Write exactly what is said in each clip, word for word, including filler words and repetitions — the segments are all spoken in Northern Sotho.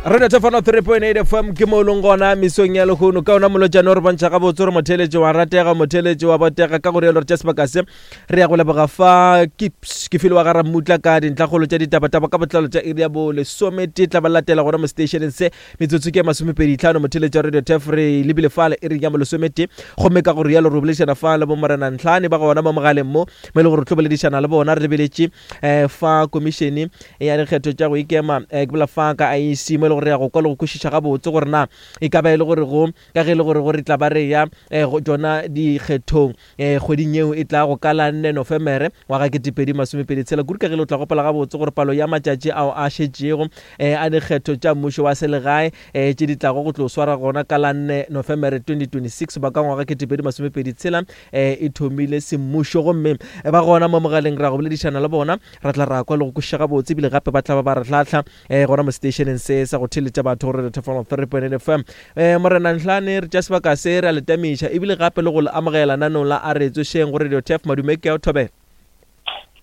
Radio Thefano three point eight F M ke mo leng gona mesong ya lehono. Ka ona molotšane o re bontšha gabotse gore motheeletši wa ratega, motheeletši wa botega. Ka go rialo re tša sebaka se re ya go leboga fa ke ke file wa ga Rammutla ka dintlhakgolo tša ditabataba ka botlalo tša iri ya bo lesometee tla ba latela gona mo stationeng se metsotso ke ya masomepedi tlhano. Motheeletši wa Radio Tef re lebile fale iri ya bo lesometee, gomme ka go rialo re boledišana fa le bo Morena Ntlhane ba gona mo mogaleng mo mo e le gore re tlo boledišana le bona. Re lebeletše, eh, fa komišene ya dikgetho tša go ikema, eh, ke bolela fa ka I E C mo e le gore re ya go kwa le go kwešiša gabotse gore na e ka ba e le gore go ka ge e le gore go re tla ba re ya, eh, go tšona dikgethong, eh, kgweding yeo e tla go ka la nne Nofemere ngwaga ketepedi masomepedi tshela. Kudu ka ge le o tla gopola gabotse gore palo ya matšatši ao a šetšego, eh, a dikgetho tša mmušo wa selegae, eh, tše di tlago go tlo swara gona ka la nne Nofemere twenty twenty-six ba ka ngwaga ketepedi masomepedi tshela, eh, e thomile semmušo. Gomme ba gona mo mogaleng ra go boledišana le bona, ra tla ra kwa le go kwešiša gabotse, ebile gape ba tla ba ba re hlahla, eh, gona mo stationeng se sa go theeletša batho gore re Thefano three point eight F M. Eh, Morena Ntlhane, re tša sebaka se re a le tamiša ebile gape le go le amogela nanong la a re tsošeng go Radio Tef. Madume ke ao, thobela.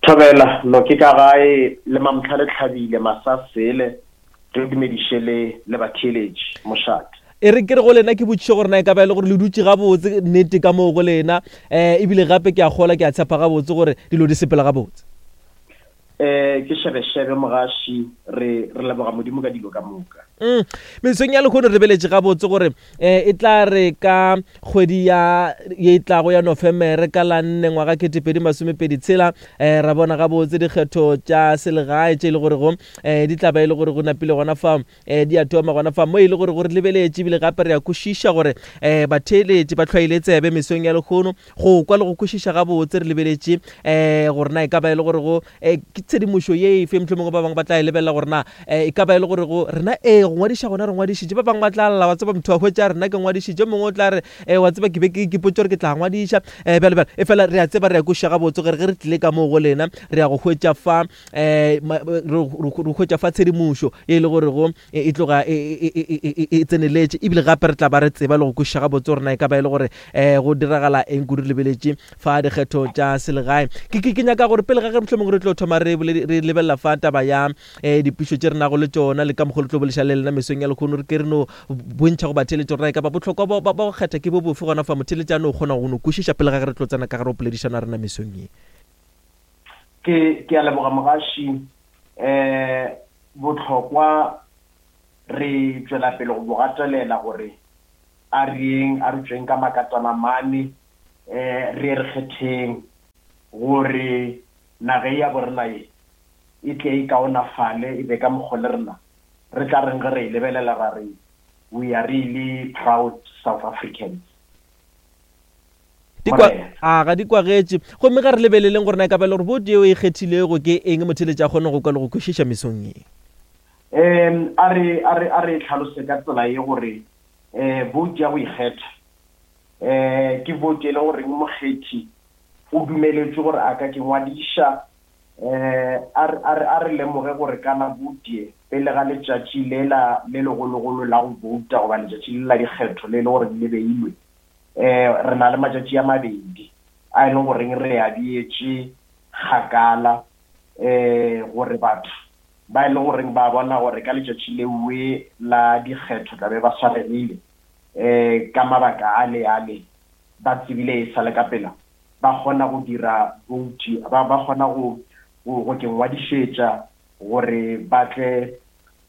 Thobela, no ke ka gae le mamtlha le tlhabile masasele, re dumediše le le batheeletši mošate. E re ke re go lena ke botšiše gore na e ka ba e le gore le dutše gabotse nnete ka moo go lena, eh, ebile gape ke a kgola, ke a tshepa gabotse gore dilo di sepela gabotse. Eh, ke šebešebe mogaši, re, re leboga Modimo ka dilo ka moka. Mm. Mesong ya lehono re lebeletše gabotse gore, eh, e tla re ka kgwedi ya, ye e tlago ya Nofemere ka la nne ngwaga ketepedi masomepedi tshela, eh, ra bona gabotse dikgetho tša selegae tše e le gore go, eh, di tla ba e le gore go napile gona fa, eh, di a thoma gona fa mo e le gore go re lebeletše, ebile gape re a kwešiša gore, eh, batheeletši ba hlwaile tsebe mesong ya lehono go kwa le go kwešiša gabotse. Re lebeletše, eh, gore na e ka ba e le gore go, eh, ke tshedimošo ye efe mohlomongwe ba bangwe ba tla e lebelela gore na, eh, e ka ba e le gore go rena, ee, go ngwadiša gona re ngwadišitše. Ba bangwe ba tla lla, wa tseba motho wa hwetša rena ke ngwadišitše, mongwe o tla re, eh, wa tseba ke be ke ipotša gore ke tla ngwadiša, eh, bjale bjale. E fela re a tseba, re a kwešiša gabotse gore ge re tlile ka moo go lena re ya go hwetša fa, eh, ma-, re, re, re hwetša fa tshedimošo e le gore go, e, e tloga e, e, e, e, e, e tseneletše, ebile gape re tla ba re tseba le go kwešiša gabotse gore na e ka ba e le gore, eh, go diragala eng kudu re lebeletše fa dikgetho tša selegae. Ke, ke, ke nyaka gore pele ga ge mohlomongwe re tlo thoma re boledi-, re lebelela fa taba ya, eh, dipušo tše re nago le tšona le ka mokgwa le tlo boleša le lena mesong ya lehono, re ke re no bontšha go batheeletši gore na e ka ba bohlokwa ba, ba, ba go kgetha ke bo bofe gona fa motheeletši a no kgona go no kwešiša pele ga ge re tlo tsena ka gare go poledišano ya rena mesong ye. Ke, ke a leboga mogaši. Eh, bohlokwa re tšwela pele go bo gatelela gore a re yeng, a re tšweng ka makatana mane, eh, re ye re kgetheng gore naga ya borena ye e tle e kaonafale, e be ka mokgwa le rena re tla reng ge re e lebelela ra re we are really proud South Africans. Di kwa, Morena. a, ga di kwagetše. Gomme ga re lebeleleng gore na e ka ba le gore bouto yeo e kgethilego ke eng motheeletši a kgone go kwa le go kwešiša mesong ye. Em, a re, a re, a re tlhalose ka tsela ye gore, eh, bouto ya go ikgetha, eh, ke bouto e leng gore mokgethi o dumeletšwe gore a ka ke ngwadiša. Eh, a re, a re, a re lemoge gore kana bouto ye pele ga letšatši lela le legologolo la go bouta goba letšatši le la dikgetho le le gore le beilwe, eh, re na le matšatši a mabedi a e leng goreng re a beetše kgakala, eh, gore batho ba e leng goreng ba bona gore ka letšatši lewe la dikgetho tla be ba swaregile, eh, ka mabaka a le a le, ba tsebile e sa le ka pela, ba kgona go dira vote, ba, ba kgona go, go, go ke ngwadišetša gore ba tle,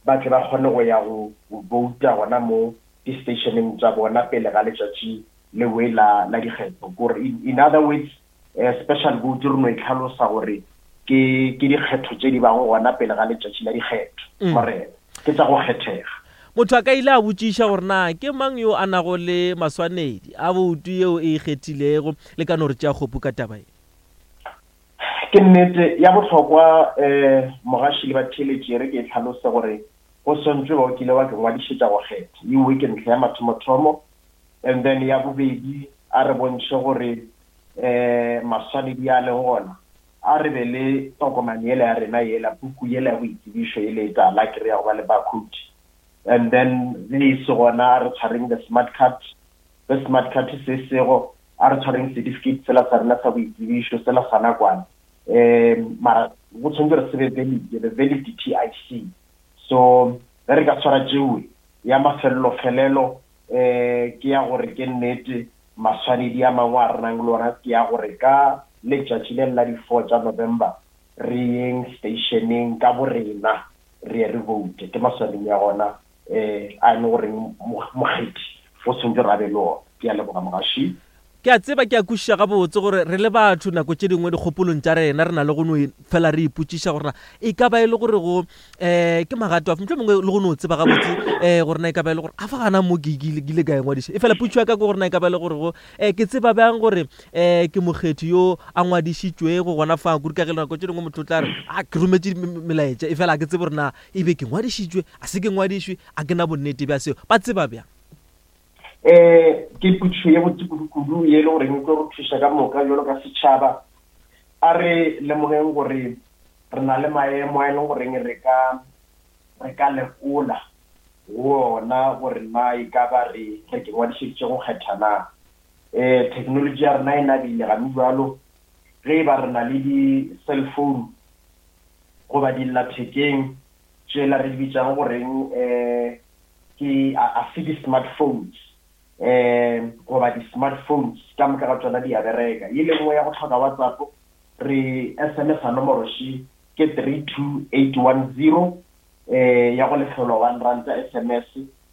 ba tle ba kgone go ya go, go vouta gona mo di-stationeng tša bona pele ga letšatši lewe la, la dikgetho. Kore in, in other words, eh, special vote re no e tlhalosa gore ke, ke dikgetho tše di bago gona pele ga letšatši la dikgetho. Mm. Morena, ke tša go kgethega. Motho a ka ile a botšiša gore na ke mang yo a nago le maswanedi a boutu yeo e ikgethilego, le ka no re tšea kgopu ka taba ye. Ke nnete ya bohlokwa, eh, mogaši le batheeletši, re ke e tlhalose gore go swantšwe ba o kile wa ke ngwadišetša go kgetha. Ewe ke ntlha ya mathomothomo. And then ya bobedi, a re bontšhe gore, eh, maswanedi a leng gona, a re be le tokomane yela ya rena yela, puku yela ya boitsebišo yela e tala, ke re ya go ba le barcode. And then ge e se gona, a re tshwareng the smart card. The smart card se sego, a re tshwareng certificate sela sa rena sa boitsebišo, sela sa nakwana. Eh, mara go tshwanetse re se be valid, the valid T I C. So Ge re ka tshwara tšewe ya mafelelo-felelo um ke ya gore ke nnete maswanedi a mangwe a re nang le ona ke ya gore ka letšatši le la di-four tša November re yeng stationeng ka borena re ye re vote. Ke maswanedi ya gona um a e le goreng mokgethi o tshwanetse re a be le ona. Ke a leboga mogaši. Ke a tseba, ke a kwešiša gabotse gore re le batho nako tše dingwe dikgopolong tša rena re na le go no fela re ipotšiša gore na e ka ba e le gore go um ke magato afe, mohlomongwe le go no tseba gabotse um gore na e ka ba e le gore a fa gana mo ke ile ka e ngwadiša. E fela potšo ya ka ke gore na e ka ba e le gore go um ke tseba bjang gore um ke mokgethi yo a ngwadišitšwego gona fa, kudu ka ge nako tše dingwe motho o tla re a ke rometše melaetša e fela a ke tsebe gore na e be ke ngwadišitšwe a se ke ngwadišwe, a ke na bonnete bja seo. Ba tseba bjang? Eh ke potšišo ye botse kudu-kudu ye e le goreng e tlo re thuša ka moka jalo ka setšhaba. A re lemogeng gore re na le maemo a e leng goreng re ka re ka lekola go ona gore na e ka ba re re ke ngwadišeditše go kgetha na. Um technology ya rena e nabile gane jalo, ge e ba re na le di-cellphone goba dillathekeng tšela re di bitsang goreng um ke a se di-smartphones um goba di-smartphones ka moka ga tsona di a bereka. Ye le nngwe ya go tlhoka WhatsApp re S M S a nomoro še ke three two eight one zero um ya go lefelwa one rand S M S,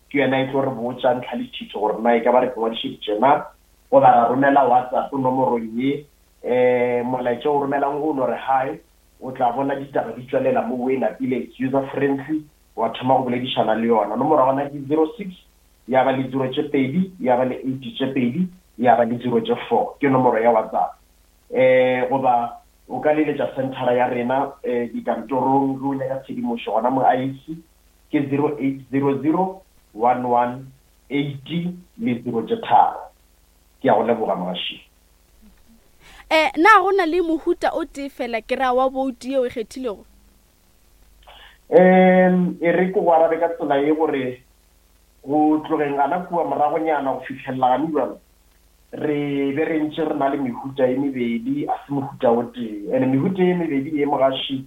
ke yona e tlo re botša ntlha le thitho gore na e ka ba re ngwadišeditše na, goba ra romela WhatsApp nomorong ye um molaetša o romelang o no re hi, o tla bona ditaba di tswelela mo o e napile, it's user friendly, wa thoma go boledišana le yona. Nomoro ya gona ke zero six ya ba le zero tše pedi, ya ba le eight tše pedi, ya ba le zero tše four, ke nomoro ya WhatsApp. Eh goba o ka leletša centera ya rena eh dikantorong ge o nyaka tshedimošo gona mo I E C ke zero eight zero zero one one eight le zero tše tharo. Ke a go leboga mogaši. Eh na go na le mohuta o tee fela ke ra wa boutu yeo e kgethilego? Um e re ke go arabe ka tsela ye gore go tlogeng gana kua moragonyana go fitlhelela gane jalo re be re ntše re na le mehuta e mebedi, a se mohuta o tee. And mehuta e mebedi e mogaši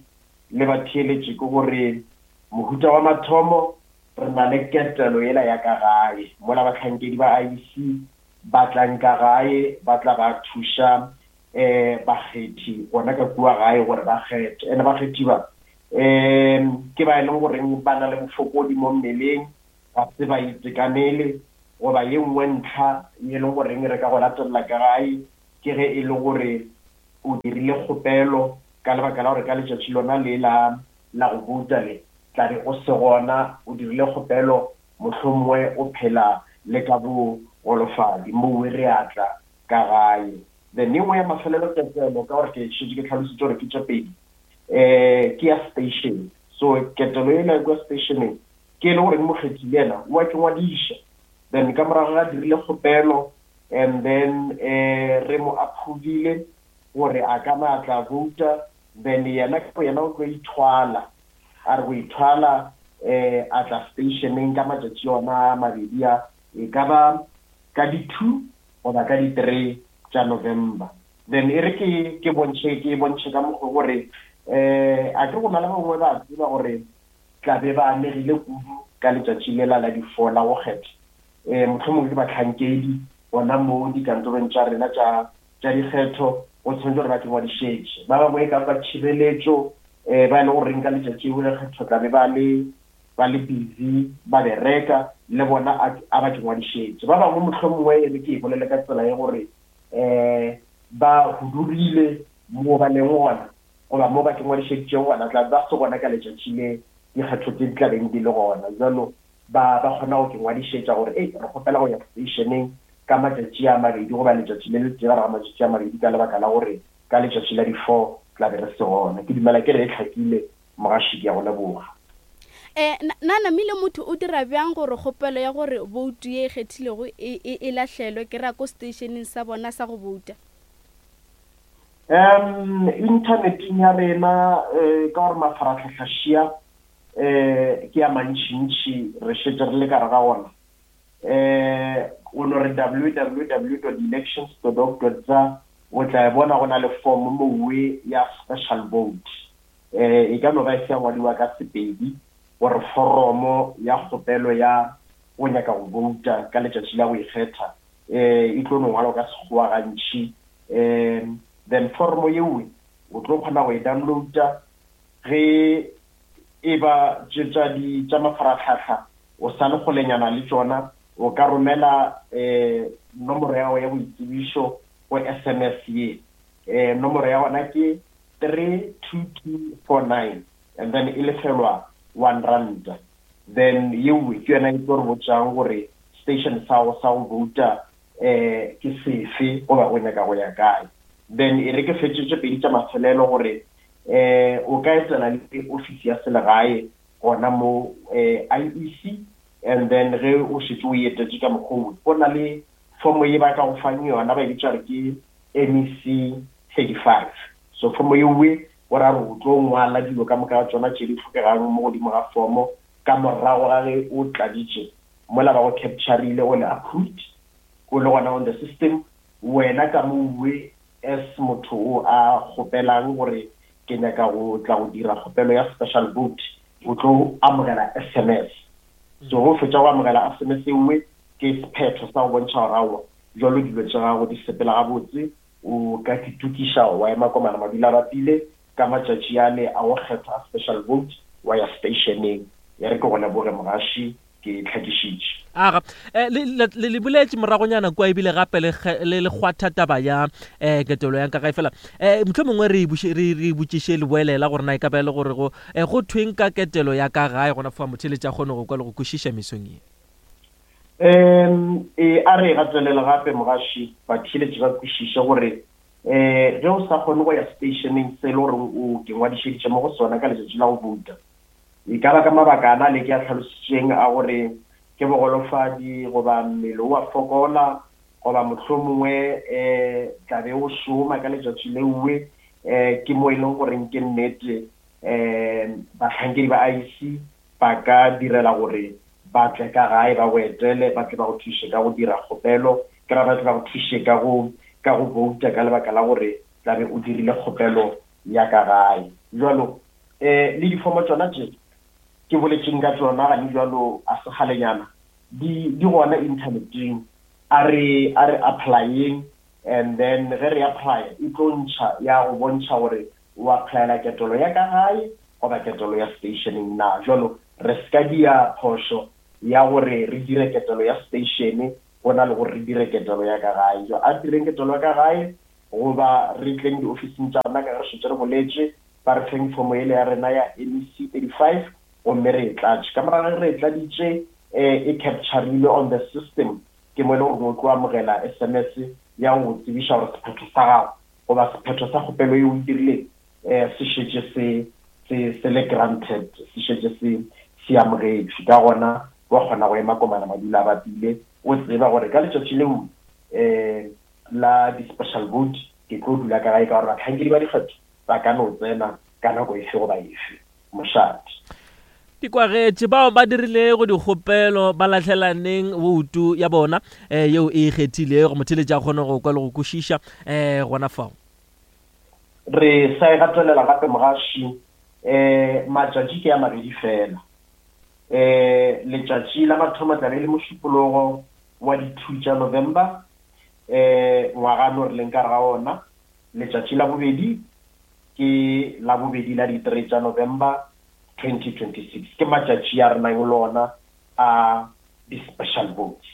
le batheeletše ke gore mohuta wa mathomo re na le ketelo yela ya ka gae mola bahlankedi ba I E C ba tlang ka gae ba tla ba thuša um bakgethi gona ka kua gae gore ba kgethe. And bakgethi ba um ke ba e leng goreng ba na le bofokodi mo mmeleng, ga se ba itekanele, goba ye nngwe ntlha ye leng goreng re ka go latelela ka gae ke ge e le gore o dirile kgopelo ka lebaka la gore ka letšatši lona le la la go bouta le tla be o se gona, o dirile kgopelo mohlomongwe o phela le ka bogolofadi moo re a tla ka gae. Then e nngwe ya mafelelo ketelo, ka gore ke šetše ke tlhalositše gore ke tše pedi, um ke ya station. So ketelo ela kwa stationeng ke e le gore mokgethi le yena o a ke ngwadiša, then ka morago ga dirile kgopelo and then um re mo approvile gore a ka na tla vouta, then yena ka yena o tlo ithwala, a re go ithwala um a tla stationeng ka matšatši ona a mabedi a, e ka ba ka di-two goba ka di-three tša November. Then e re ke ke bontšhe ke bontšhe ka mokgwa gore um a ke go na le bangwe ba tseba gore tla be ba amegile kudu ka letšatši lela la di-four la go kgetha. Um mohlomongwe ke bahlankedi gona mo dikantorong tša rena tša tša dikgetho, go tshwanetse gore ba ke ngwadišetše. Ba bangwe e ka ba tšhireletšo um ba e le goreng ka letšatši leo la kgetho tla be ba le ba le busy ba bereka le bona a ba ke ngwadišetše. Ba bangwe mohlomongwe e re ke e bolele ka tsela ye gore um ba hudurile mo ba leng gona goba mo ba ke ngwadišeditšego gona tla ba se gona ka letšatši le dikgetho tse di tla beng di le gona. Jalo ba ba kgona go ke ngwadišetša gore ei re kgopela go ya stationeng ka matšatši a mabedi goba letšatši le letee gare ga matšatši a mabedi ka lebaka la gore ka letšatši la di-four tla be re se gona. Ke dumela ke re e hlakile mogaši, ke a go leboga. Eh na namile motho o dira bjang gore kgopelo ya gore boutu ye e kgethilego e e e lahlelwe ke ra ko stationeng sa bona sa go bouta? Um inthaneteng ya rena um ka gore mafaratlhatlha šia um ke a mantšintši re šetše re le ka re ga ona. Um o no re w w w dot elections dot org dot za o tla e bona go na le form mowe ya special vote. Um e ka no ba e se ya ngwadiwa ka Sepedi gore foromo ya kgopelo ya go nyaka go bouta ka letšatši la go ikgetha um e tlo no ngwalwa ka Sekgowa gantši. Um then foromo yeo o tlo kgona go e downloada ge e ba tše tša di tša mafaratlhatlha o sa le kgolenyana le tšona, o ka romela um nomoro ya gago ya boitsebišo go S M S ye. Um nomoro ya gona ke three two two four nine and then e lefelwa one rand. Then yeo ke yona e tlo re botšang gore station sa go sa go bouta um ke sefe goba o nyaka go ya kae. Then e re ke fetše tše pedi tša mafelelo gore um o ka etela le ofisi ya selegae gona mo um I E C, and then ge o šetše o etetše ka mokgwa o, go na le fomo ye ba ka go fang yona ba e bitša gore ke M E C thirty-five. So fomo yeo o ra re o tlo ngwala dilo ka moka ga tšona tše di hlokegang mo godimo ga fomo ka morago ga ge o tladitše mola ba go capturile o le approved o le gona on the system. Wena ka mowe as motho o a kgopelang gore ke nyaka go tla go dira kgopelo ya special vote, o tlo amogela S M S. So go fetša go amogela S M S engwe ke sephetho sa go bontšha gore aowa jwalo dilo tša gago di sepela gabotse, o ka itokiša wa ema komana madula bapile ka matšatši ale a go kgetha special vote wa ya stationeng. Ya re ke go leboge mogaši, ke tlhakišitše. Aga, eh, le le le boletše moragonyana kua ebile gape le le le kgwatha taba ya eh ketelo ya ka gae fela. Eh mohlomongwe re re re botšiše le boelela gore na e ka ba e le gore go eh, go thweng ka ketelo ya ka gae gona fa motheletši a kgone go kwa le go kwešiša mesong ye. Um e a re gatelela gape mogaši batheletši ba kwešiše gore um ge o sa kgone go ya stationeng se e le gore o ke ngwadišeditše mo go sona ka letšatši la go bouta, e ka ba ka mabaka ana le ke a tlhalositšeng a gore ke bogolofadi goba mmele o a fokola goba mohlomongwe um tlabe o šoma ka letšatši leuwe, um ke mo e leng goreng ke nnete um bahlankedi ba I E C ba ka direla gore ba tle ka gae ba go etele, ba tle ba go thuše ka go dira kgopelo, ke ra ba tle ba go thuše ka go ka go bouta ka lebaka la gore tlabe o dirile kgopelo ya ka gae. Jwalo um le difomo tšona tše ke boletseng ka tšona gane jwalo a sekgalenyana di di gona inthaneteng, a re a re applyeng and then ge re apply e tlo ntšha ya go bontšha gore o applyela ketelo ya ka gae goba ketelo ya stationeng na. Jwalo re ska dia phošo ya gore re dire ketelo ya station go na le gore re dire ketelo ya ka gae. Jo a direng ketelo ya ka gae goba re tleng diofising tša rena ka ge re šetše re boletše, ba re feng fomo ele ya rena ya M E C thirty-five gomme re e tlatše. Ka morago ge re e tladitše um e capturile on the system, ke mo e leng gore o tlo amogela S M S ya go tsebiša gore sephetho sa gago goba sephetho sa kgopelo ye o e dirileng um se šetše se se se le granted, se šetše se se amogetšwe. Ka gona wa kgona go ema komana madula a bapile o tseba gore ka letšatši leo um la di-special vote ke tlo dula ka gae ka gore bahlankedi ba dikgetho ba ka no tsena ka nako efe goba efe. Mošate. Dikwagetše bao ba dirilego dikgopelo ba lahlelaneng boutu ya bona um yeo e ikgethilego, motheletši a kgone go kwa le go kwešiša um gona fao. Re sa e gatelela gape mogaši, um matšatši ke a mabedi fela. Um letšatši la mathomo tlabe e le mošupologo wa di-two tša November um ngwaga no re leng ka gare ga ona. Letšatši la bobedi ke la bobedi la di-three tša November twenty twenty-six, ke matšatši a re nang le ona a di-special votes.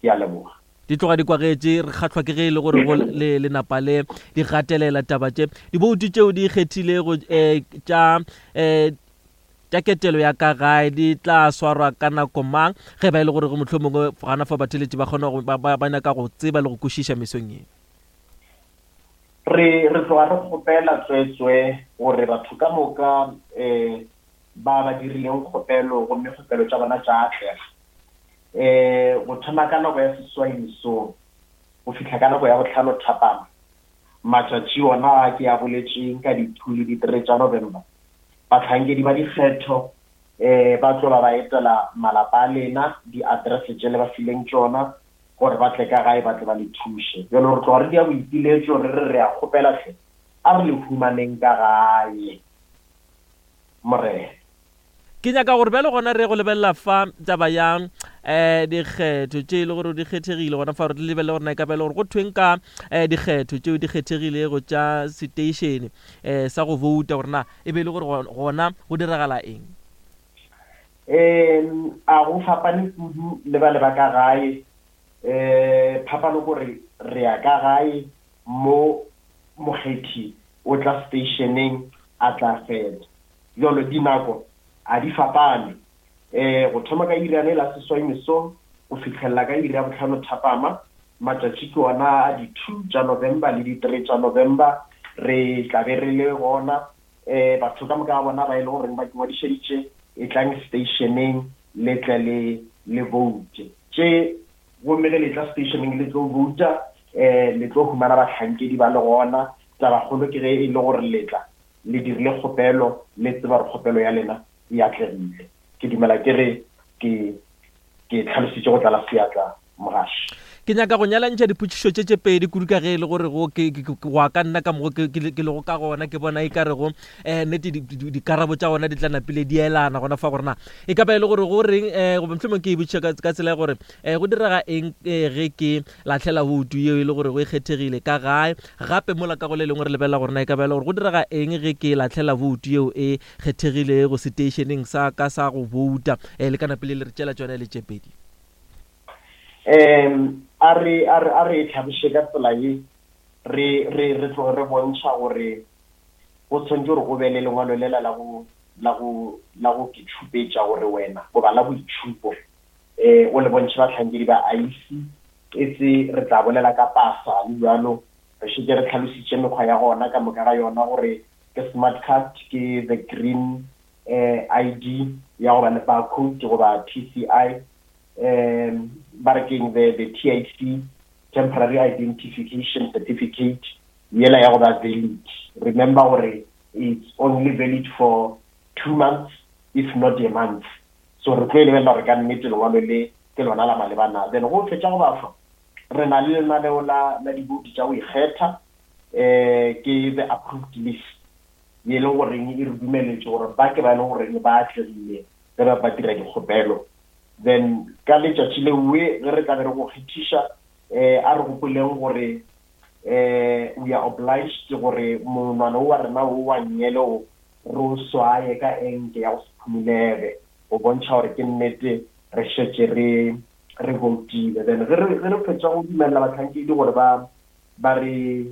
Ke a leboga. Di tloga di kwagetše, re kgahlwa ke ge e le gore go le lenapa le di gatelela taba tše diboutu tšeo di ikgethilego um tša um tša ketelo ya ka gae di tla swarwa ka nako mang ge ba e le gore go mohlomongwe gana fa batheletši ba kgona go ba ba nyaka go tseba le go kwešiša mesong ye? Re re tloga re kgopela tswetswe gore batho ka moka um ba ba dirileng kgopelo gomme kgopelo tša bona tša atlega um go thoma ka nako ya seswai mesong go fihla ka nako ya bohlano thapama, matšatši ona a ke a boletšeng ka di-two le di-three tša November, bahlankedi ba dikgetho um ba tlo ba ba etela malapa a lena, di-address tše le ba fileng tšona gore ba tle ka gae ba tle ba le thuše. Jwale re tloga re dia boipiletšo re re re a kgopela hle a re le humaneng ka gae. Morena. Ke nyaka gore bjale gona re go lebelela fa taba ya um dikgetho tše e le gore di kgethegile gona fa re lebelele gore na e ka ba e le gore go thweng ka um dikgetho tšeo di kgethegilego tša seteišene um sa go vouta, gore na e be e le gore gona go diragala eng? Um a go fapane kudu le ba le ba ka gae. Um phapano kore re ya ka gae mo mokgethi o tla stationeng a tla feta. Jalo dinako a di fapane, um go thoma ka iri ya la seswai mesong go fitlhelela ka iri ya botlhano thapama. Matšatši ke ona a di-two tša November le di-three tša November, re tla be re le gona. Um batho ka moka ga bona ba e le goreng ba ngwadišeditše, e tlang stationeng le tle le le voute tše. Gomme ge le tla stationeng le tlo vouta, um le tlo humana bahlankedi ba le gona. Tabakgolo ke ge e le gore letla le dirile kgopelo, le tseba gore kgopelo ya lena e atlegile. Ke dumela ke re ke ke tlhalositše go tlala seatla, mogaši. Ke nyaka go nyalantšha dipotšišo tše tše pedi kudu ka ge e le gore go go a ka nna ka mogo ke lego ka gona, ke bona e ka rego um nnete dikarabo tša gona di tla napile di elana gona fa, gore na e ka ba e le gore go reng um goba mohlomong ke e botšiša ka tsela ya gore um go direga eng ge ke lahlela boutu yeo e le gore go e kgethegile ka gae, gape mola ka go le lengwe re lebelela gore na e ka ba e le gore go direga eng ge ke lahlela boutu yeo e kgethegilego seteišeneng sa ka sa go bouta. Um le ka napile le re tšela tšona e le tše pedi. Um a re a re a re tlhabiše ka tsela ye, re re re tloge re bontšha gore go tshwanetse gore o be le lengwalo lela la go la go la go ke tšhupetša gore wena goba la boitšhupo, um o le bontšhe bahlankedi ba I E C. E se re tla bolela ka pasa le jalo, re šetše re tlhalositše mekgwa ya gona ka moka ga yona, gore ke smart card, ke the green eh I D ya go ba le barcode goba T C I, um ba re keng the the T I C, temporary identification certificate yela ya go ba valid. Remember gore it's only valid for two months if not a month. So re tlo e lebelela gore ka nnete lengwalo le ke lona la malebana. Then go fetša go bafa, re na le lenaneo la la diboutu tša go ikgetha, um ke the approved list ye leng goreng e re dumeletše gore ba ke ba e leng goreng ba atlegile ge ba ba dira dikgopelo. Then ka letšatši lewe ge re tla be re go kgethiša, um a re gopoleng gore um we are obliged gore monwana o wa rena o wa nnyele o re o swaye ka enke ya go se phumulege, go bontšha gore ke nnete re šetše re re voutile. Then ge re ge re fetša go dumelela bahlankedi gore ba ba re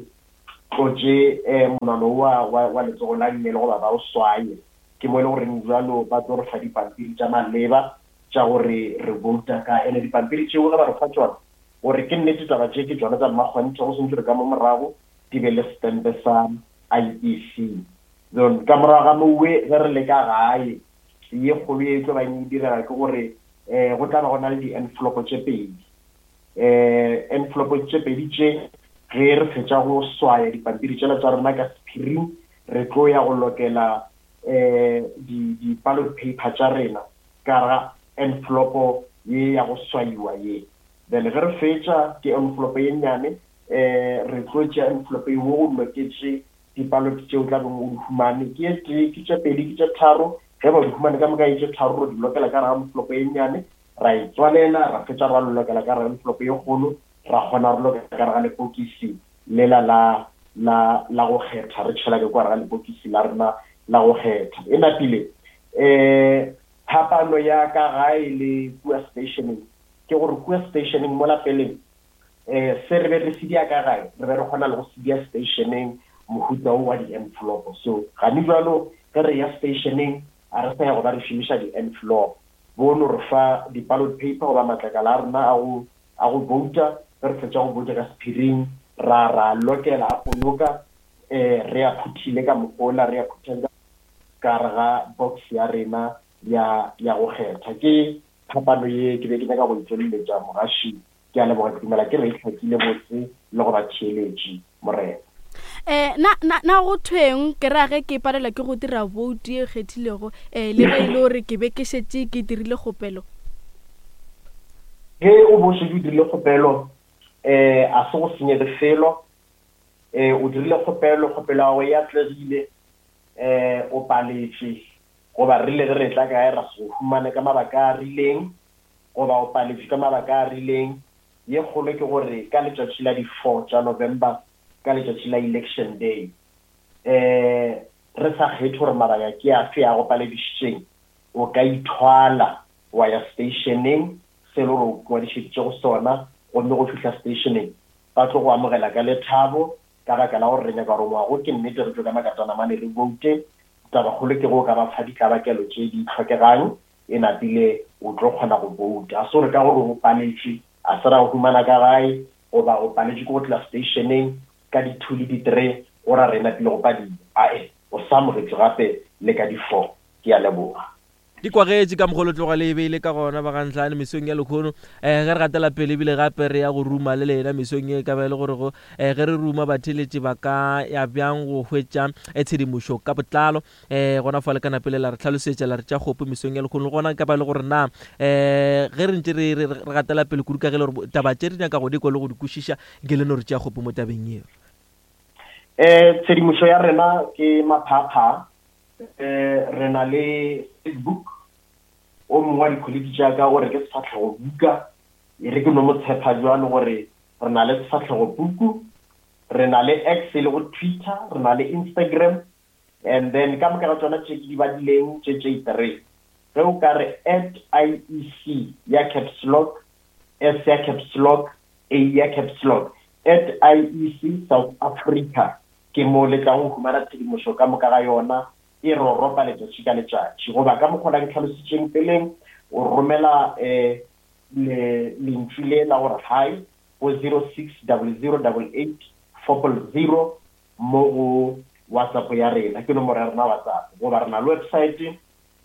tlotše um monwana wa wa letsogo la nnyele goba ba o swaye, ke mo e le goreng jalo ba tlo re fa dipampiri tša maleba tša gore re vouta ka. Ene dipampiri tšeo ge ba re fa tšona, gore ke nnete taba tše ke tšona tša mmakgonthe, go swantse re ka mo morago di be le stempe sa I E C. Then ka morago ga mowe ge re le ka gae, ye kgolo ye tlo bang e direga ke gore um go tla ba go na le di-envelope tše pedi. Um envelope tše pedi tše ge re fetša go swaya dipampiri tšela tša rena ka sephiring, re tlo ya go lokela um di-ballot paper tša rena ka ga envelope ye ya go swaiwa ye. Then ge re fetša ke envelope ye nnyane, um re tlo tšea envelope ye wo go loketše di-ballot tšeo tla beng o di humane, ke e tee, ke tše pedi, ke tše tharo. Ge ba di humane ka moka e tše tharo, re di lokela ka gare ga envelope ye nnyane, ra e tswalela, ra fetša ra lokela ka gare ga envelope ye kgolo, ra kgona re lokela ka gare ga lepokisi lela la la la go kgetha, re tšhela ke kwa gare ga lepokisi la rena la go kgetha. E napile um phapano ya ka gae le kua stationeng ke gore kua stationeng mo lapeleng um se re be re se dia ka gae, re be re kgona le go se dia stationeng mohuta o wa di-envelope. So gane jalo ge re ya stationeng a re sa ya go ba re šomiša di-envelope, bono re fa di-ballot paper goba matlakala a rena a go a go vouta. Ge re fetša go vouta ka sephiring, ra ra lokela a ponoka, um re a phuthile ka mogola, re a phuthile ka gare ga box ya rena ya ya go kgetha. Ke phapano ye ke be ke nyaka go e tsweleletša mogaši. Ke a leboga, ke dumela ke re e hlakile botse le go ba theeletše morena. Eh na na na go thweng ke ra ge ke palelwa ke go dira boutu ye kgethilego, eh le ge e le gore ke be ke šetše ke dirile kgopelo? Ge o bo šetše o dirile kgopelo, eh a se go senyege felo. Eh o dirile kgopelo, kgopelo ya gago e atlegile, eh o paletše. Goba re le ge re tla kae ra se go humane ka mabaka a rileng, goba o paletšwe ka mabaka a rileng. Ye kgolo ke gore ka letšatši la di-four tša November, ka letšatši la election day, eh re sa kgethe gore mabaka ke afe a go paledišitšeng, o ka ithwala wa ya stationeng se le gore o ngwadišeditše go sona, gomme go fihla stationeng ba tlo go amogela ka lethabo, ka baka la gore re nyaka gore ngwago ke nnete re tšwe ka makatana mane re voute. Tabakgolo ke go ka ba fa ditlabakelo tše di tlhokegang, e napile o tlo kgona go vouta. A se gore ka gore o paletšwe, a se ra go humana ka gae, goba o paletšwe ke go tla stationeng ka di-two le di-three, go ra re napile go padile. Ae, o sa amogetšwe gape le ka di-four. Ke a leboga. Di kwagetše ka mokgwa o tloga le e beile ka gona bagantlhane mesong ya lekgono. um ge re gatela pele ebile gape re ya go ruma le lena mesong ye, ka ba e le gore go um ge re ruma batheletši ba ka ya bjang go hwetša tshedimošo ka botlalo. um gona fa le ka napele la re tlhalosetša la re tša kgopo mesong ya lekgono. Le gona ka ba e le gore na um ge re ntše re gatela pele kudu ka ge le gore taba tše re nyaka go di kwa le go di kwešiša, nke le no re tšea kgopo mo tabeng yeo. Um tshedimošo ya rena ke maphapha. Eh re na le Facebook, o mongwe wa di-colleague tša ka o re ke sefahlego buka, e re ke no mo tshepa jwalo gore re na le sefahlego puku, re na le X e le go Twitter, re na le Instagram, and then ka moka ga tsona tše ke di badileng tše tše three. Ge o ka re at I E C ya caps lock, S ya caps lock, A ya caps lock, at I E C South Africa, ke mo le tlang go humana tshedimošo ka moka ga yona, e roropa letšatši ka letšatši. Goba ka mokgwa ke tlhalositšeng peleng, o romela um le lentšu le la gore hi go zero six double zero double eight four zero mo go WhatsApp ya rena, ke nomoro ya rena WhatsApp. Goba re na le website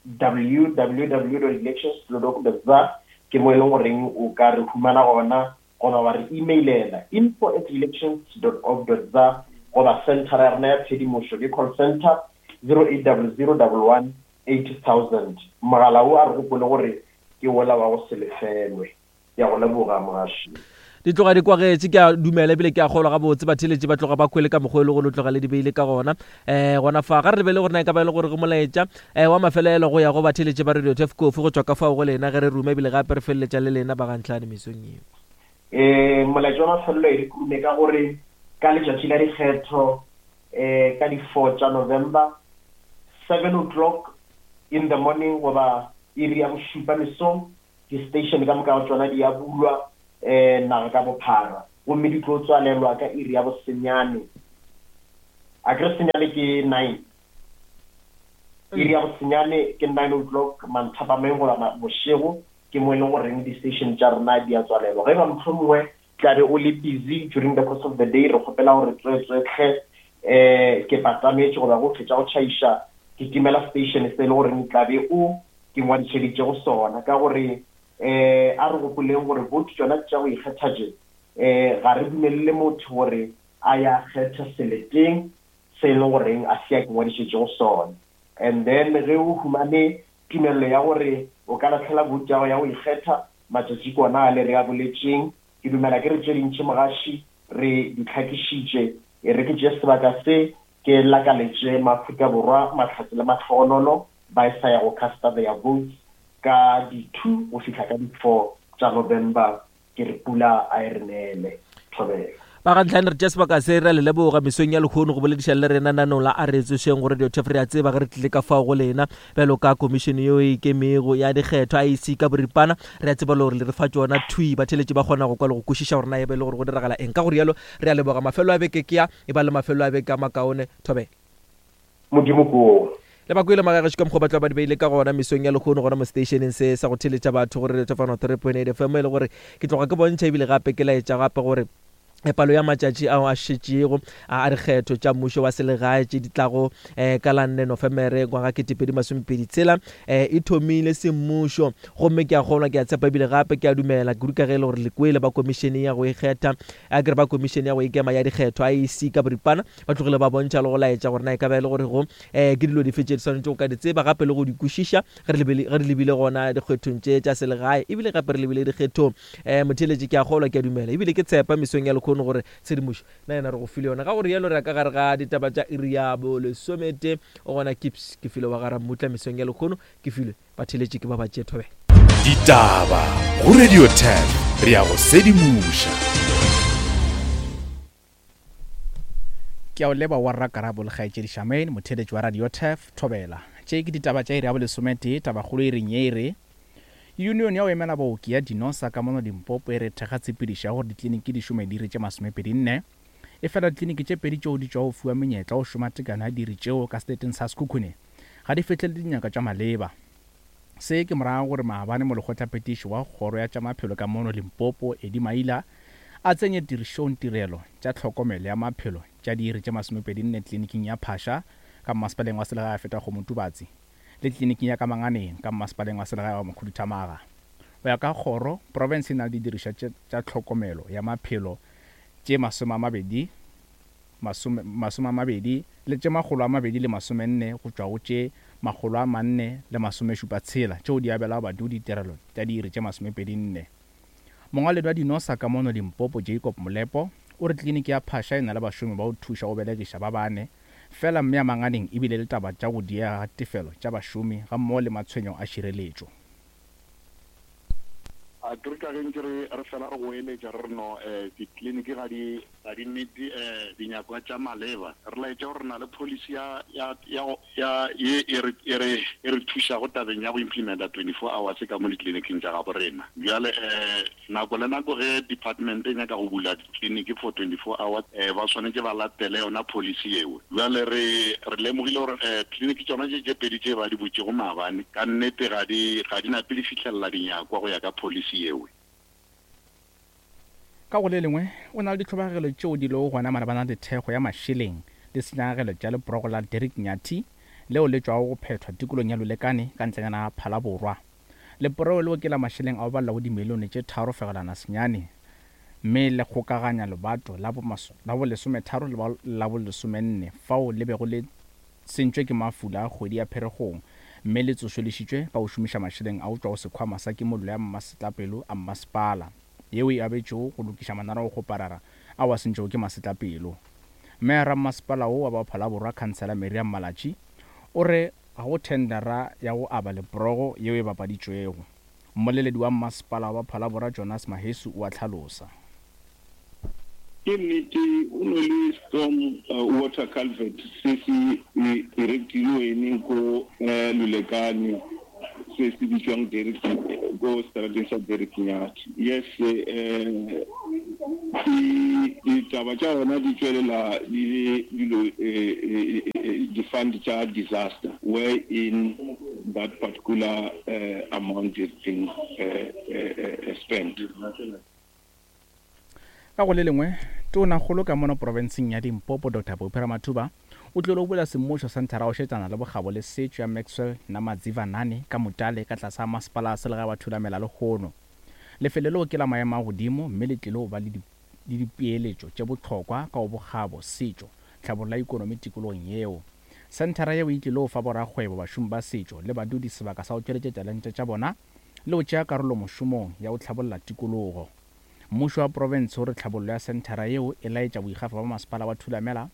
w w w dot elections dot org dot za, ke mo e leng goreng o ka re humana gona, goba wa re emailela info at elections dot org dot za, goba center ya rena ya tshedimošo ke call center zero eight double zero double one eight thousand. Mogala o a re gopole gore ke wola wa go se lefelwe. Ke a go leboga mogaši. Di tloga di kwagetše, ke a dumela ebile ke a kgolwa gabotse batheletši ba tloga ba kwele ka mokgwa e le gore o tloga le di beile ka gona. um gona fa ga re lebele gore na e ka ba e le gore go molaetša um wa mafelelo go ya go batheletši ba Radio Turf Kofi go tšwa ka fao go lena ge re ruma ebile gape re feleletša le lena bagantlhane mesong yeo. Um molaetša wa mafelelo e re kurume ka gore ka letšatši la dikgetho um ka di-four tša November, seven o'clock in the morning goba iri ya bošupa mesong, di-station ka moka ga tšona di a bulwa um naga ka bophara, gomme di tlo tswalelwa ka iri ya bosenyane. A ke re senyane ke nine, iri ya bosenyane ke nine o'clock manthapameng goba bošego, ke mo e leng goreng di-station tša rena di a tswalelwa. Ge ba mohlomongwe tla be o le busy during the course of the day, re kgopela gore tswetswetlhe um ke patametše goba go fetša go tšhaiša ke timela station se e le goreng tla be o ke ngwadišeditše go sona. Ka gore um a re gopoleng gore vote tšona tša go ikgetha tše, um ga re dumelele motho gore a ya kgetha seleteng se e leng goreng a se a ke ngwadišetše go sona. And then ge o humane tumelelo ya gore o ka lahlela vote ya gago ya go ikgetha, matšatši ke ona a le re a boletšeng. Ke dumela ke re tše dintši mogaši re di tlhakišitše, e re ke tšee sebaka se ke lakaletše maAfrika Borwa mahlatse le mahlogonolo ba e sa ya go casta their votes ka di-two go fihla ka di-four tša November. Ke re pula a e re neele. Thobela. Bagantlhane re tša sebaka se re le leboga mesong ya lekgono go bolediša le rena nanong la a re tsošeng go Radio Turf. Re a tseba ge re tlile ka fao go lena bjalo ka komišene yeo e ikemego ya dikgetho I E C ka boripana, re a tseba le gore le re fa tšona thwi, batheletši ba kgona go kwa le go kwešiša gore na e be le gore go diragala eng. Ka go rialo re a leboga. Mafelo a beke ke a e ba le mafelo a beke a makaone. Thobela. Modimo ko. Le ba kwele magagešo ka mokgwa ba tla ba di beile ka gona mesong ya lekgono gona mo stationeng se sa go theletša batho gore Radio Turf three point eight F M, e le gore ke tloga ke bontšha ebile gape ke laetša gape gore palo ya matšatši ao a šetšego a dikgetho tša mmušo wa selegae tše di tlago um ka la nne Nofemere ngwaga ketepedi masomepedi tshela um e thomile semmušo, gomme ke a kgolwa, ke a tshepa ebile gape ke a dumela kudu ka ge e le gore le kwele ba komišene ya go ikgetha, a ke re ba komišene ya go ikema ya dikgetho I E C ka boripana ba tlogile ba bontšha le go laetša gore na e ka ba e le gore go um ke dilo dife tše di swanetše go ka di tseba gape le go di kwešiša ge re lebile gona dikgethong tše tša selegae ebile gape re lebile dikgethong. um Motheeletši ke a kgolwa, ke a dumela ebile ke tshepa mesong ya lekgono gore tshedimošo na yena re go file yona. Ka gore yalo re ya ka gare ga ditaba tša iri ya bolesomete. O gona Kips ke file wa gara mmutla mesong ya lekgono, ke filwe batheletše ke ba ba tšee thobela. Ditaba go Radio ten, re ya go sedimoša. Ke a o leba wa Rrakarabo le kgaetšedi Charmaine, motheeletši wa Radio Turf, Thobela. Tše ke ditaba tša iri ya bolesometee, tabakgolo e reng ye e re Union ya go emela baoki ya Dinosa ka mono Limpopo e re thekga tshepedišo ya gore ditleliniki di šome diiri tše masomepedi nne. Efela ditleliniki tše pedi tšeo di tšwago fiwa menyetla go šoma tekano ya diiri tšeo ka seleteng sa Sekhukhune ga di fihlelele dinyakwa tša maleba. Se ke morago gore maabane molekgotlaphethiši wa kgoro ya tša maphelo ka mono Limpopo Eddie Maila a tsenye tirišong tirelo tša tlhokomelo ya maphelo tša diiri tše masomepedi nne tleliniking ya Phasha ka mmasepaleng wa selegae wa Fetakgomo-Tubatse le tleliniking ya Kamanganeng ka mmasepaleng wa selegae wa Mokhuduthamaga. Go ya ka kgoro, profense e na le didirišwa tša tlhokomelo ya maphelo tše masome a mabedi masome a mabedi le tše makgolo a mabedi le masomenne go tšwa go tše makgolo a manne le masomešupa tshela tšeo di abelago badudi ditirelo tša diiri tše masomepedi nne. Mongwaledi wa Dinosa ka mono Limpopo Jacob Molepo o re tleliniki ya Phasha e na le bašomi ba go thuša go belegiša ba bane fela, mme ya Manganeng ebile le taba tša go diega ga tefelo tša bašomi gammogo le matshwenyo a šireletšo. A ke re ka ge ntše re re fela re goeletša re re no um ditleliniki ga di ga di meet um dinyakwa tša maleba, re laetša gore re na le policy ya ya ya ya ye e re e re e re thušago tabeng ya go implementa twenty-four hours ka mo ditleliniking tša gabo rena. Bjale um nako le nako ge department e nyaka go bula ditleliniki for twenty-four hours, um ba swanetše ba latele yona policy yeo. Bjale re re lemogile gore um tleliniki tšona tše tše pedi tše ba di butšego maabane ka nnete ga di ga di nape di fihlelela dinyakwa go ya ka policy yeo. Ka go le lengwe, o na le ditlhobogelo tšeo di lego gona malebana le thekgo ya mašeleng le senyagelo tša leporogo la Derek Nyathi leo le tšwago go phethwa tikolong ya Lulekane ka ntlenyana ya Phalaborwa. Leporogo leo ke la mašeleng a go balelwa go dimilione tše tharo fegelwana senyane, mme le kgokaganya lebato la bo lesometharo le la bo lesomenne fao le bego le sentšwe ke mafula a kgwedi ya Pherekgong, mme le tsošološitšwe ka go šomiša mašeleng a go tšwa go sekhwama sa kimollo ya masetlapelo a mmasepala yeo e abetšego go lokiša mananeo-kgoparara ao a sentšwego ke masetlapelo. Meyara mmasepala wo wa ba Phalaborwa Khansela Miriam Malatji o re ga go thendera ya go aba leporogo yeo e bapaditšwego. Mmoleledi wa mmasepala wa Phalaborwa Jonas Mahesu o a hlalosa. Ke nnete o no le storm uh, water culvert se se erectilweng ko uh, Lulekane se se bitswang Derek ko strateng sa Derek Nyathi. Yes, eh ditaba tša gona di tšwelela di le dilo di-fund tša disaster wherein that particular uh, amount is being uh, uh, spent. Ka go le lengwe, tonakgolo ka mono profenseng ya Limpopo Doctor Phophi Ramathuba o tlile go bula semmušo senthara go šetšana le bokgabo le setšo ya Maxwell Namadzivanane ka Mutale ka tlase ga masepala a selegae wa Thulamela lekgono. Lefelo leo ke la maemo a godimo mme le tlile go ba le dipeeletšo tše bohlokwa ka go bokgabo, setšo, tlhabollo ya ikonomi tikologong yeo. Senthara yeo e tlile go fa borakgwebo, bašomi ba setšo le badudi sebaka sa go tšweletša talente tša bona le go tšea karolo mošomong ya go tlhabolla tikologo. Mmušo wa profense o re tlhabollo ya senthara yeo e laetša boikgafo ba masepala wa Thulamela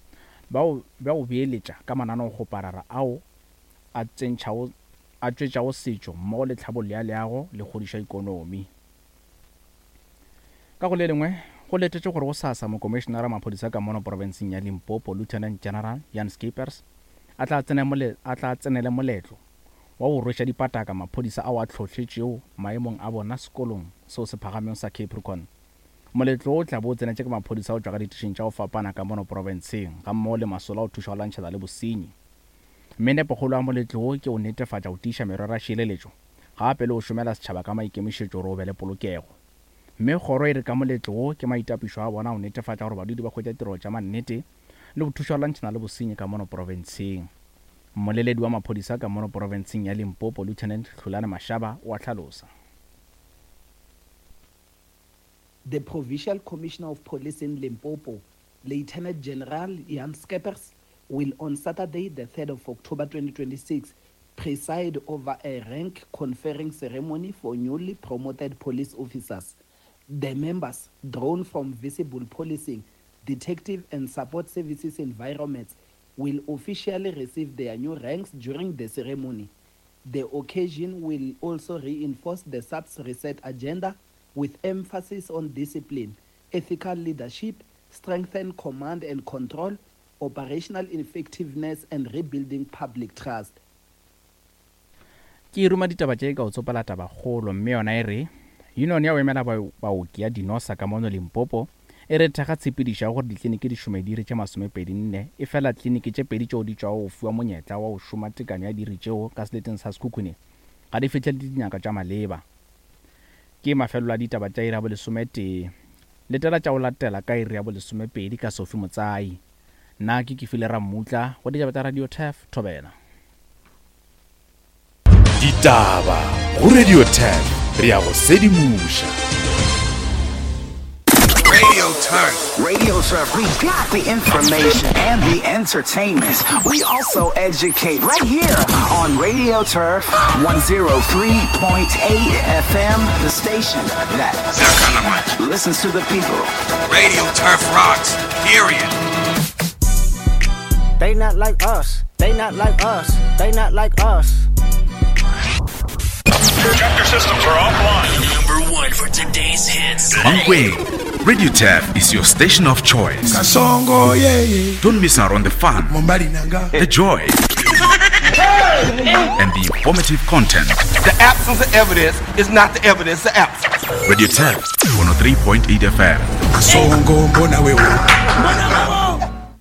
bao bja go beeletša ka mananeokgoparara ao a tsentšhago a tšwetšago setšo mmogo le tlhabollo ya leago le kgodišo ya ikonomi. Ka go le lengwe, go letetše gore go sasa mokomišenara wa maphodisa ka mono profenseng ya Limpopo Lieutenant General Jan Skeepers a tla tsenele moletlo wa go rweša dipataka maphodisa ao a hlohletšego maemong a bona sekolong seo se phagamego sa Capricorn. Moletlo o tla bo o tsenetše ke maphodisa go tšwa ka ditišing tša go fapana ka mono profenseng gammogo le masolo a go thuša go lwantšhana le bosenyi. Mme nepokgolo ya moletlo wo ke go netefatša go tiiša merero ya šireletšo gape le go šomela setšhaba ka maikemišetšo gore o be le polokego. Mme kgoro e re ka moletlo wo ke maitapišo a bona go netefatša gore badudi ba hwetša tirelo tša mannete le go thuša go lwantšhana le bosenyi ka mono profenseng. Mmoleledi wa maphodisa ka mono profenseng ya Limpopo Lieutenant Hlulane Mashaba o a hlalosa. The Provincial Commissioner of Police in Limpopo, Lieutenant General Jan Skeepers, will on Saturday, the third of October twenty twenty-six, preside over a rank conferring ceremony for newly promoted police officers. The members, drawn from visible policing, detective and support services environments, will officially receive their new ranks during the ceremony. The occasion will also reinforce the S A P S reset agenda with emphasis on discipline, ethical leadership, strengthen command and control, operational effectiveness, and rebuilding public trust. Ke ruma ditaba tše ka o tsopela tabakgolo, mme yona e re union ya go emela baoki ya Dinosa ka mono Limpopo e re thekga tshepedišo ya gore ditleliniki di šome diiri tše masomepedi nne, efela tleliniki tše pedi tšeo di tšwago go fiwa monyetla wa go šoma tekanyo ya diiri tšeo ka seleteng sa Sekhukhune ga di fihlelele dinyakwa tša maleba. Ke mafelelo a ditaba tša iri ya bolesometee. Letela tša go latela ka iri ya bolesomepedi ka Sophie Motsai. Nna ke Kefile Rammutla go ditaba tša Radio Turf Thobela. Ditaba go Radio Turf, re ya go sedimoša. Radio Turf. Radio Turf. We got the information and the entertainment. We also educate right here on Radio Turf one oh three point eight F M, the station that listens to the people. Radio Turf rocks, period. They not like us. They not like us. They not like us. Chapter systems are offline. Number one for today's hits. Mankweng. Radio Turf is your station of choice. Kasongo, yeah, yeah. Don't miss out on the fun, the joy, and the informative content. The absence of evidence is not the evidence of absence. Radio Turf, one oh three point eight F M. Kasongo, mbona wewe.